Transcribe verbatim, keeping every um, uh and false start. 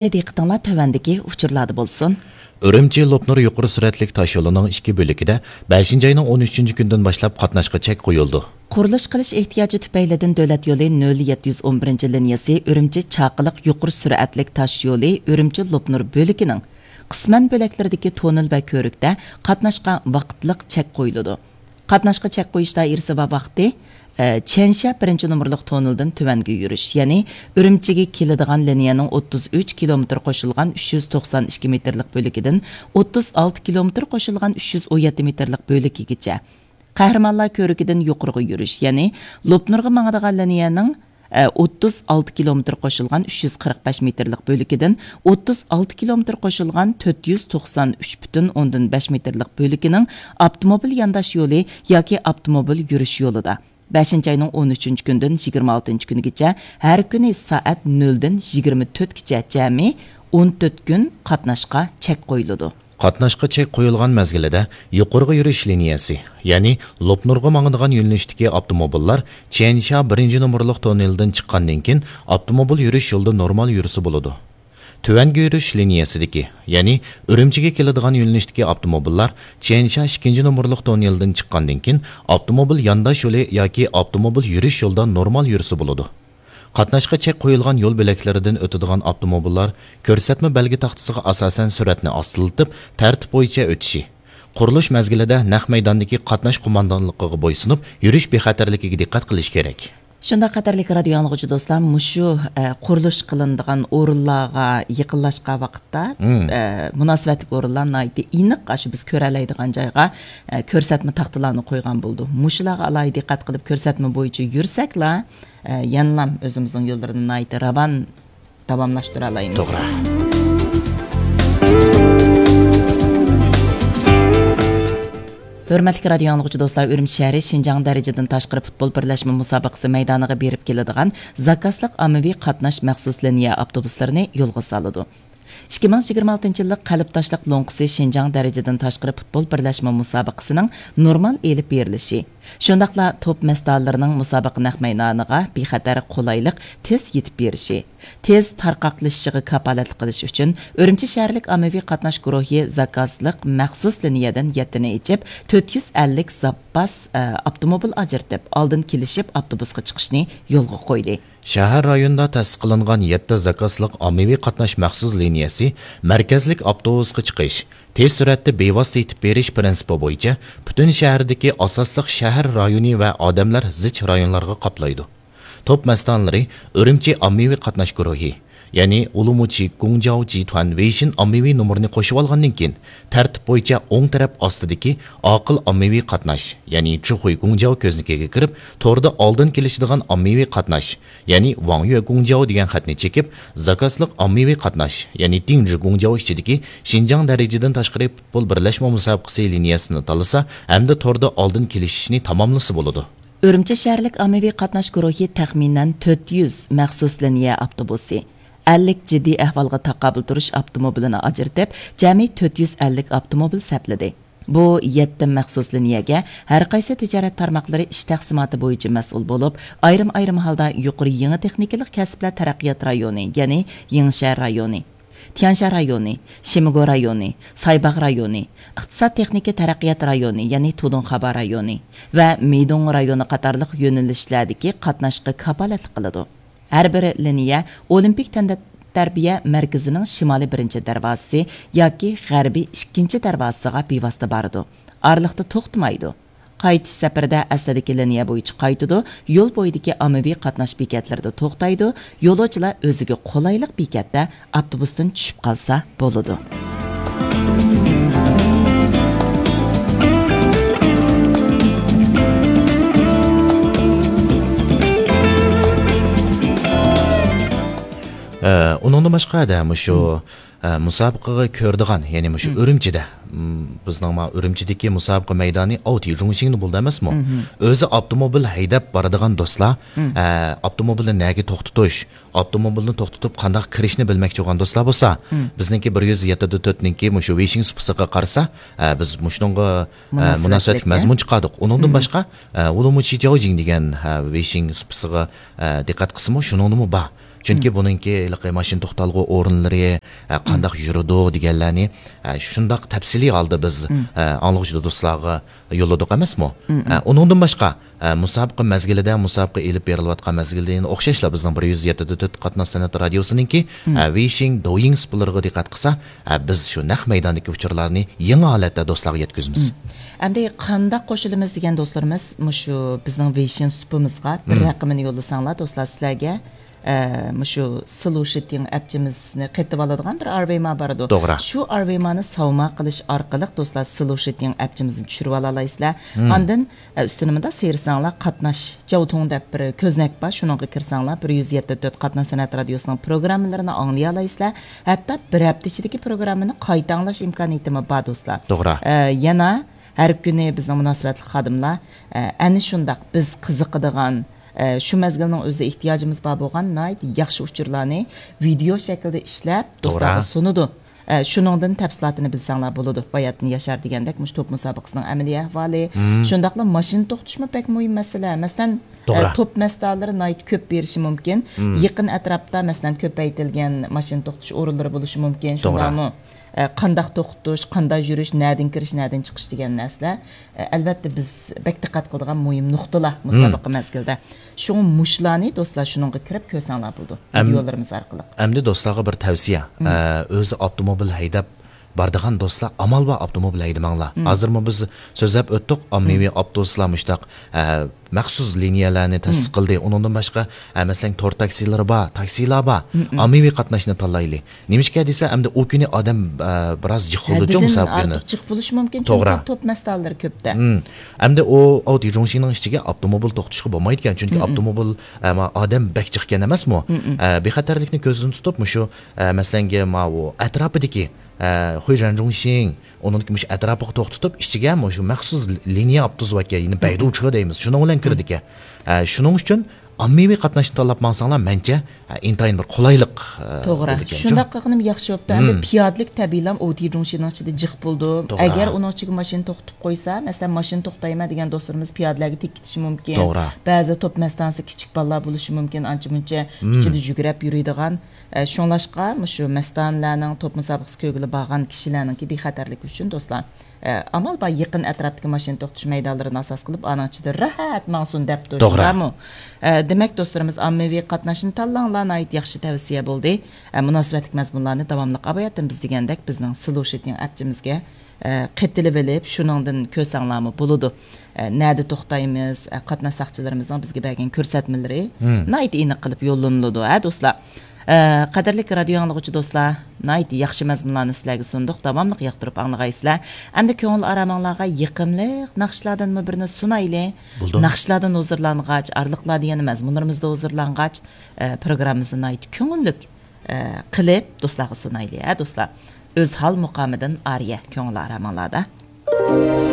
دىققىتىڭلار تۆۋەندىكى ئۇچۇرلاردا بولسۇن. ئۈرۈمچى لوپنۇر يۇقىرى سۈرئەتلىك تاش يولىنىڭ ئىككى بۆلىكىدە بەشىنچى ئاينىڭ ئون ئۈچىنچى كۈنىدىن باشلاپ قاتناشقا چەك قويۇلىدۇ. قۇرۇلۇش قىلىش ئېھتىياجى تۈپەيلىدىن دۆلەت يولى نۆل يەتتە يۈز ئون بىرىنچى لىنىيەسى ئۈرۈمچى چاقىلىق يۇقىرى سۈرئەتلىك تاش يولى ئۈرۈمچى لوپنۇر بۆلىكىنىڭ قىسمەن بۆلەكلىرىدىكى توننېل ۋە كۆۋرۈكتە قاتناشقا ۋاقىتلىق چەك قويۇلىدۇ. قاتناشقا چەك قويۇش دائىرىسى ۋە ۋاقتى، ئە، چيەنشيا بىرىنچى نومۇرلۇق توننېلدىن تۆۋەنگە يۈرۈش، يەنى ئۈرۈمچىگە كېلىدىغان لىنىيەنىڭ ئوتتۇز ئۈچ كىلومېتىر قوشۇلغان ئۈچ يۈز توقسان ئىككى مېتىرلىق بۆلىكىدىن ئوتتۇز ئالتە كىلومېتىر قوشۇلغان ئۈچ يۈز ئون يەتتە مېتىرلىق بۆلىكىگىچە، قەھرىمانلار كۆۋرۈكىدىن يۇقىرىغا يۈرۈش، يەنى لوپنۇرغا ماڭىدىغان لىنىيەنىڭ، ئە، ئوتتۇز ئالتە كىلومېتىر قوشۇلغان ئۈچ يۈز قىرىق بەش مېتىرلىق بۆلىكىدىن ئوتتۇز ئالتە كىلومېتىر قوشۇلغان تۆت يۈز توقسان ئۈچ پۈتۈن ئوندىن بەش مېتىرلىق بۆلىكىنىڭ ئاپتوموبىل يانداش يولى ياكى ئاپتوموبىل يۈرۈش يولىدا بەشىنچى ئاينىڭ ئون ئۈچىنچى كۈنىدىن يىگىرمە ئالتىنچى كۈنىگىچە ھەر كۈنى سائەت نۆلدىن يىگىرمە تۆتكىچە جەمئىي ئون تۆت كۈن قاتناشقا چەك قويۇلىدۇ. قاتناشقا چەك قويۇلغان مەزگىلىدە يۇقىرىغا يۈرۈش لىنىيەسى، يەنى لوپنۇرغا ماڭىدىغان يۆنىلىشتىكى ئاپتوموبىللار چيەنشيا بىرىنچى نومۇرلۇق توننېلدىن چىققاندىن كېيىن ئاپتوموبىل يۈرۈش يولىدا نورمال يۈرسە بولىدۇ. تۆۋەنگە يۈرۈش لىنىيەسىدىكى، يەنى ئۈرۈمچىگە كېلىدىغان يۆنىلىشتىكى ئاپتوموبىللار چيەنشيا ئىككىنچى نومۇرلۇق توننېلدىن چىققاندىن كېيىن ئاپتوموبىل يانداش يولى ياكى ئاپتوموبىل يۈرۈش يولىدا نورمال يۈرسە بولىدۇ. قاتناشقا چەك قويۇلغان يول بۆلەكلىرىدىن ئۆتىدىغان ئاپتوموبىللار كۆرسەتمە بەلگە تاختىسىغا ئاساسەن سۈرئەتنى ئاستىلىتىپ، تەرتىپ بويىچە ئۆتۈشى، قۇرۇلۇش مەزگىلىدە نەق مەيداندىكى قاتناش قوماندانلىقىغا بويسۇنۇپ، يۈرۈش بىخەتەرلىكىگە دىققەت قىلىش كېرەك. شۇنداق، قەدىرلىك رادىيو ئاڭلىغۇچى دوستلار، مۇشۇ، ئە، قۇرۇلۇش قىلىنىدىغان ئورۇنلارغا يېقىنلاشقان ۋاقىتتا، مم. ئە، مۇناسىۋەتلىك ئورۇنلار ناھايىتى ئېنىق، ئاشۇ بىز كۆرەلەيدىغان جايغا، ئە، كۆرسەتمە تاختىلارنى قويغان بولىدۇ. مۇشۇلارغا ئالاھىدە دىققەت قىلىپ كۆرسەتمە بويىچە يۈرسەكلا، ئە، يەنىلام ئۆزىمىزنىڭ يوللىرىنى ناھايىتى راۋان داۋاملاشتۇرالايمىز. توغرا. ھۆرمەتلىك رادىيو ئاڭلىغۇچى دوستلار، ئۈرۈمچى شەھىرى شىنجاڭ دەرىجىدىن تاشقىرى پۇتبول بىرلەشمە مۇسابىقىسى مەيدانىغا بېرىپ كېلىدىغان زاكازلىق ئاممىۋى قاتناش مەخسۇس لىنىيە ئاپتوبۇسلىرىنى يولغا سالىدۇ. ئىككى مىڭ يىگىرمە ئالتىنچى يىللىق قەلب تاشلىق لوڭقىسى شىنجاڭ دەرىجىدىن تاشقىرى پۇتبول بىرلەشمە مۇسابىقىسىنىڭ نورمال ئېلىپ بېرىلىشى، شۇنداقلا توپ مەستانىلىرىنىڭ مۇسابىقە نەق مەيدانىغا بىخەتەر، قولايلىق، تېز يېتىپ بېرىشى، تېز تارقاقلىشىشىغا كاپالەتلىك قىلىش ئۈچۈن، ئۈرۈمچى شەھەرلىك ئاممىۋى قاتناش گۇرۇھى زاكازلىق مەخسۇس لىنىيەدىن يەتتىنى ئېچىپ، تۆت يۈز ئەللىك زاپاس، ئە، ئاپتوموبىل ئاجرىتىپ، ئالدىن كېلىشىپ ئاپتوبۇسقا چىقىشنى يولغا قويدى. شەھەر رايونىدا تەسىس قىلىنغان يەتتە زاكازلىق ئاممىۋى قاتناش مەخسۇس لىنىيەسى مەركەزلىك ئاپتوبۇسقا چىقىش، تېز سۈرئەتتە بىۋاسىتە يېتىپ بېرىش پىرىنسىپى بويىچە پۈتۈن شەھەردىكى ئاساسلىق شەھەر رايونى ۋە ئادەملەر زىچ رايونلارغا قاپلايدۇ. توپ مەستانىلىرى ئۈرۈمچى ئاممىۋى قاتناش گۇرۇھى، يەنى ئۇلۇمۇچى گۇڭجاۋ جىتۇەن ۋېيشىن ئاممىۋى نومۇرىنى قوشۇۋالغاندىن كېيىن، تەرتىپ بويىچە ئوڭ تەرەپ ئاستىدىكى ئاقىل ئاممىۋى قاتناش، يەنى چىخۇي گۇڭجاۋ كۆزنىكىگە كىرىپ، توردا ئالدىن كېلىشىدىغان ئاممىۋى قاتناش، يەنى ۋاڭ يۈە گۇڭجاۋ دېگەن خەتنى چېكىپ، زاكازلىق ئاممىۋى قاتناش، يەنى دىڭجى گۇڭجاۋ ئىچىدىكى شىنجاڭ دەرىجىدىن تاشقىرى پۇتبول بىرلەشمە مۇسابىقىسى لىنىيەسىنى تاللىسا ھەمدە توردا ئالدىن كېلىشىشنى تاماملىسا بولىدۇ. ئۈرۈمچى شەھەرلىك ئاممىۋى قاتناش گۇرۇھى تەخمىنەن تۆت يۈز مەخسۇس لىنىيە ئاپتوبۇسى، ئەللىك جىددىي ئەھۋالغا تاقابىل تۇرۇش ئاپتوموبىلىنى ئاجرىتىپ، جەمئىي تۆت يۈز ئەللىك ئاپتوموبىل سەپلىدى. بۇ يەتتە مەخسۇس لىنىيەگە ھەر قايسى تىجارەت تارماقلىرى ئىش تەقسىماتى بويىچە مەسئۇل بولۇپ، ئايرىم-ئايرىم ھالدا يۇقىرى يېڭى تېخنىكىلىق كەسىپلەر تەرەققىيات رايونى، يەنى يېڭىشەھەر رايونى، تيەنشان رايونى، شىمىگو رايونى، سايباغ رايونى، ئىقتىساد تېخنىكا تەرەققىيات رايونى، يەنى تۇدۇڭخابا رايونى ۋە مىدۇڭ رايونى قاتارلىق يۆنىلىشلەردىكى قاتناشقا كاپالەتلىك قىلىدۇ. ھەر بىر لىنىيە ئولىمپىك تەنتەربىيە مەركىزىنىڭ شىمالىي بىرىنچى دەرۋازىسى ياكى غەربىي ئىككىنچى دەرۋازىسىغا بىۋاسىتە بارىدۇ. ئارىلىقتا توختىمايدۇ. قايتىش سەپىرىدە ئەسلىدىكى لىنىيە بويىچە قايتىدۇ، يول بويىدىكى ئاممىۋى قاتناش بېكەتلىرىدە توختايدۇ، يولۇچىلار ئۆزىگە قولايلىق بېكەتتە ئاپتوبۇستىن چۈشۈپ قالسا بولىدۇ. ئە، ئۇنىڭدىن باشقا، دە، مۇشۇ، ئە، مۇسابىقىگە كۆرىدىغان، يەنى مۇشۇ ئۈرۈمچىدە، م، بىزنىڭ ما ئۈرۈمچىدىكى مۇسابىقە مەيدانى ئاۋتى جۇڭشىڭدا بولىدۇ ئەمەسمۇ؟ ئۆزى ئاپتوموبىل ھەيدەپ بارىدىغان دوستلار، ئە، ئاپتوموبىلنى نەگە توختىتىش، ئاپتوموبىلنى توختىتىپ قانداق كىرىشنى بىلمەكچى بولغان دوستلار بولسا، بىزنىڭكى بىر يۈز يەتتە دە تۆتنىڭكى مۇشۇ ۋېيشىڭ سۇپىسىغا قارىسا، ئە، بىز مۇشۇنىڭغا، ئە، مۇناسىۋەتلىك، مۇناسىۋەتلىك مەزمۇن چىقاردۇق. ئۇنىڭدىن باشقا، ئە، ۋۇلۇمۇچى جاۋجىڭ دېگەن، ئە، ۋېيشىڭ سۇپىسىغا، ئە، دىققەت قىلسىمۇ، شۇنىڭدىمۇ بار. چۈنكى بۇنىڭكى ھېلىقى ماشىنا توختالغۇ ئورۇنلىرى، ئە، قانداق يۈرىدۇ دېگەنلەرنى، ئە، شۇنداق تەپسىلىي ھالدا بىز، ئە، ئاڭلىغۇچى دوستلارغا يوللىدۇق ئەمەسمۇ؟ ئە، ئۇنىڭدىن باشقا، ئە، مۇسابىقە مەزگىلىدە، مۇسابىقە ئېلىپ بېرىلىۋاتقان مەزگىلدە يەنە ئوخشاشلا بىزنىڭ بىر يۈز يەتتە تۆت قاتناش سەنئەت رادىيوسىنىڭكى، ئە، ۋېيشىڭ دويىڭ سۇپىلىرىغا دىققەت قىلسا، ئە، بىز شۇ نەق مەيداندىكى ئۇچۇرلارنى يېڭى ھالەتتە دوستلارغا يەتكۈزىمىز. ئەمدى قانداق قوشۇلىمىز دېگەن دوستلىرىمىز مۇشۇ بىزنىڭ ۋېيشىڭ سۇپىمىزغا بىر رەقىمىنى يوللىساڭلار، دوستلار سىلەرگە، ئە، مۇشۇ سلۇشىتىڭ ئەپچىمىزنى قېتىۋالىدىغان بىر ئارۋېما بارىدۇ. توغرا. شۇ ئارۋېمانى ساۋما قىلىش ئارقىلىق دوستلار سلۇشىتىڭ ئەپچىمىزنى چۈشۈرۈۋالالايسىلەر. ئاندىن، ئە، ئۈستىنى مۇنداق سىيرىساڭلار، قاتناش جاۋتۇڭ دەپ بىر كۆزنەك بار، شۇنىڭغا كىرسەڭلار، بىر يۈز يەتتە تۆت قاتناش سەنئەت رادىيوسىنىڭ پروگراممىلىرىنى ئاڭلىيالايسىلەر. ھەتتا بىر ھەپتە ئىچىدىكى پروگراممىنى قايتا ئاڭلاش ئىمكانىيىتىمۇ بار، دوستلار. توغرا. ئە، يەنە ھەر كۈنى بىزنىڭ مۇناسىۋەتلىك خادىملار، ئە، ئەنە شۇنداق بىز قىزىقىدىغان، ئە، شۇ مەزگىلنىڭ ئۆزىدە ئېھتىياجىمىز بار بولغان ناھايىتى ياخشى ئۇچۇرلارنى ۋىدېئو شەكلىدە ئىشلەپ، توغرا. دوستلارغا سۇنىدۇ. ئە، شۇنىڭدىن تەپسىلاتىنى بىلسەڭلار بولىدۇ. باياتىن ياشار دېگەندەك، مۇشۇ توپ مۇسابىقىسىنىڭ ئەمەلىي ئەھۋالى، شۇنداقلا ماشىنا توختىتىشمۇ بەك مۇھىم مەسىلە. مەسىلەن، توغرا. ئە، توپ مەستانىلىرى ناھايىتى كۆپ بېرىشى مۇمكىن. يېقىن ئەتراپتا، مەسىلەن، كۆپەيتىلگەن ماشىنا توختىتىش ئورۇنلىرى بولۇشى مۇمكىن. توغرا. شۇنداقمۇ؟ ئە، قانداق توختىتىش، قانداق يۈرۈش، نەدىن كىرىش، نەدىن چىقىش دېگەن نەرسىلەر، ئە، ئەلۋەتتە، بىز بەك دىققەت قىلىدىغان مۇھىم نۇقتىلار مۇسابىقە مەزگىلىدە. شۇڭا مۇشۇلارنى، دوستلار، شۇنىڭغا كىرىپ كۆرسەڭلار بولىدۇ، ئەم-، ۋىدېئولىرىمىز ئارقىلىق. ئەمدى دوستلارغا بىر تەۋسىيە. ئە، ئۆزى ئاپتوموبىل ھەيدەپ بارىدىغان دوستلار، ئامال بار ئاپتوموبىل ھەيدىمەڭلار. ھازىرمۇ بىز سۆزلەپ ئۆتتۇق، ئاممىۋى ئاپتوبۇسلار مۇشۇنداق، ئە، مەخسۇس لىنىيەلەرنى تەسىس قىلدى. ئۇنىڭدىن باشقا، ئە، مەسىلەن، تور تاكسىلىرى بار، تاكسىلار بار. ئاممىۋى قاتناشنى تاللايلى. نېمىشقا دېسە، ئەمدى ئۇ كۈنى ئادەم، ئە، بىراز جىق بولىدۇچۇ ھەددىدىن مۇسابىقىنى. ئارتۇق جىق بولۇشى مۇمكىن، توغرا. چۈنكى توپ مەستانىلىرى كۆپتە. ئەمدى ئۇ ئاۋتى جۇڭشىنىڭ ئىچىگە ئاپتوموبىل توختىتىشقا بولمايدىكەن، چۈنكى ئاپتوموبىل، ئە، ما-، ئادەم بەك جىقكەن ئەمەسمۇ؟ ئە، بىخەتەرلىكنى كۆزدىن تۇتۇپ، مۇشۇ، ئە، مەسىلەنگە، ماۋۇ ئەتراپىدىكى، ئە، خۇيژەنجۇڭشىڭ، ئۇنىڭدىكى مۇشۇ ئەتراپىغا توختىتىپ، ئىچىگە مۇشۇ مەخسۇس لىنىيە ئاپتوبۇس باركەن، يەنى بەيدۇچې دەيمىز، شۇنىڭ بىلەن كىرىدىكەن. ئە، شۇنىڭ ئۈچۈن ئاممىۋى قاتناشنى تاللاپ ماڭساڭلار، مەنچە، ئە، ئىنتايىن بىر قولايلىق، ئە، توغرا. بولىدىكەن. شۇنداق قىلغىنىم ياخشى بوپتۇ. ئەمدى پىيادىلىك تەبىئىيلا ئاۋتى جۇڭشىنىڭ ئىچىدە جىق بولىدۇ. توغرا. ئەگەر ئۇنىڭ ئىچىگە ماشىنا توختىتىپ قويسا، مەسىلەن، ماشىنا توختايمەن دېگەن دوستلىرىمىز پىيادىلەرگە تېگىپ كېتىشى مۇمكىن. توغرا. بەزىدە توپ مەستانىسى كىچىك بالىلار بولۇشى مۇمكىن، ئانچە مۇنچە ئىچىدە يۈگۈرەپ يۈرىدىغان. ئە، شۇڭلاشقا مۇشۇ مەستانىلەرنىڭ توپ مۇسابىقىسى كۆرگىلى بارغان كىشىلەرنىڭكى بىخەتەرلىكى ئۈچۈن، دوستلار، ئە، ئامال بار يېقىن ئەتراپتىكى ماشىنا توختىتىش مەيدانلىرىنى ئاساس قىلىپ، ئانىڭ ئىچىدە راھەت ماڭسۇن دەپتۇ، توغرا. شۇنداقمۇ؟ ئە، دېمەك، دوستلىرىمىز، ئاممىۋى قاتناشنى تاللاڭلار، ناھايىتى ياخشى تەۋسىيە بولدى. ئە، مۇناسىۋەتلىك مەزمۇنلارنى داۋاملىق ئاۋاياتتىن بىز دېگەندەك بىزنىڭ سلۇشىتىڭ ئەپچىمىزگە، ئە، قېتىلىۋېلىپ، شۇنىڭدىن كۆرسەڭلارمۇ بولىدۇ. ئە، نەدە توختايمىز، ئە، قاتناش ساقچىلىرىمىزنىڭ بىزگە بەرگەن كۆرسەتمىلىرى ناھايىتى ئېنىق قىلىپ يوللىنىلىدۇ، ھە، دوستلار؟ ئە، قەدىرلىك رادىيو ئاڭلىغۇچى دوستلار، ناھايىتى ياخشى مەزمۇنلارنى سىلەرگە سۇندۇق، داۋاملىق ياقتۇرۇپ ئاڭلىغايسىلەر. ئەمدى كۆڭۈل ئارامىڭلارغا يېقىملىق ناخشىلاردىنمۇ بىرنى سۇنايلى. بولدى. ناخشىلاردىن ھۇزۇرلانغاچ، ئارىلىقلاردا يەنە مەزمۇنلىرىمىزدا ھۇزۇرلانغاچ، ئە، پروگراممىمىزنى ناھايىتى كۆڭۈللۈك، ئە، قىلىپ دوستلارغا سۇنايلى، ھە، دوستلار؟ ئۆزھال مۇقامىدىن ئارىيە، كۆڭۈل ئارامىڭلاردا.